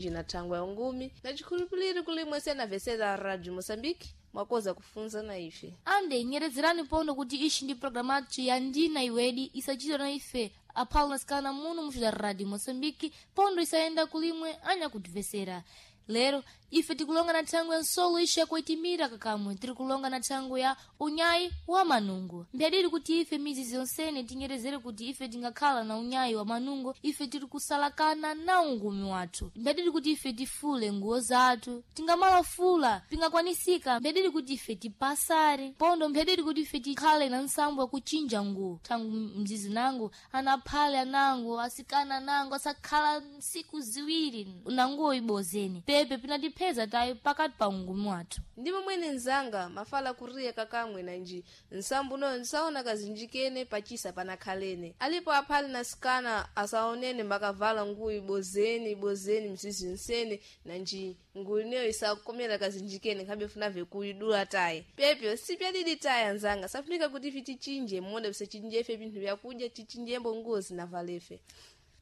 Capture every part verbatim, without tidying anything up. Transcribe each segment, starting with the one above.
Na thangwa ya ungumi na chikhulupiliro kulimwe sena vesera Radio Moçambique mwakoza kufunza na ife. Ande nyerezerani pondo kuti ishi ndi programu athu ya Ndina Iwedi, isachitwa na ife aphalo nasikana muno muxu da Radio Moçambique, pondo isayenda kulimwe anyakutivesera. Lero ife tikulonga na thangwi ya nsolo ixi yakuitimira kakamwe, tiri kulonga na thangwi ya unyayi wa manungo. Mbyadidi kuti ife mizizi yonsene tinyerezere kuti ife tingakhala na unyayi wa manungo, ife tiri kusalakana na ungumi wathu. Mbyadidi kuti ife tifule nguwo zathu, tingamalafula pingakwanisika. Mbyadidi kuti ife tipasare pondo. Mbyadidi kuti ife tikhale na nsambo ya kuchinja nguwo. Thangu mzizi nangu anaphale anango asikana nango asakhala nsiku ziwiri na nguwo ibozeni pepe pinatipheza tayi pakati pa ungumi wathu. Ndimo mwene nzanga mafala kuriya kakamwe nanji nsambu noyo nsaona kazinjikene pachisa panakhalene alipo aphale na sikana asaonene mbakavala nguwo ibozeni ibozeni mzizi nsene, nanji nguwo ineyo isakomera kazinjikene nkhabe funave kuidula tayi. Pepyo sipyadidi tayi anzanga, safunika kuti ife tichinje mmoda pisachinjefe pinthu vyakudya, tichinjembo nguwo zinavalefe.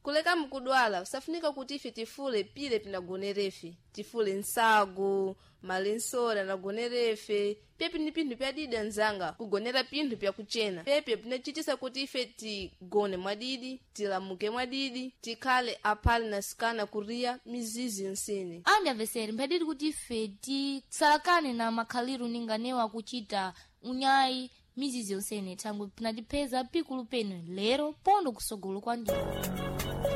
Kuleka mkudwala safunika kuti ife tifule pile pinagonerefe, tifule nsago malensora nagonerefe. Pepe ni pinthu pyadidi anzanga, kugonera pinthu pyakuchena pepe pinachitisa kuti ife tigone mwadidi, tilamuke mwadidi, tikhale aphale na sikana kuriya mizizi yonsene. Andi amvesere, mphadidi kuti ife tisalakane na makhaliru ninganewa kuchita unyayi mizizi yonsene, thangwi pinatipheza pikulu penu lero pondo kusogolo kwa ndiko.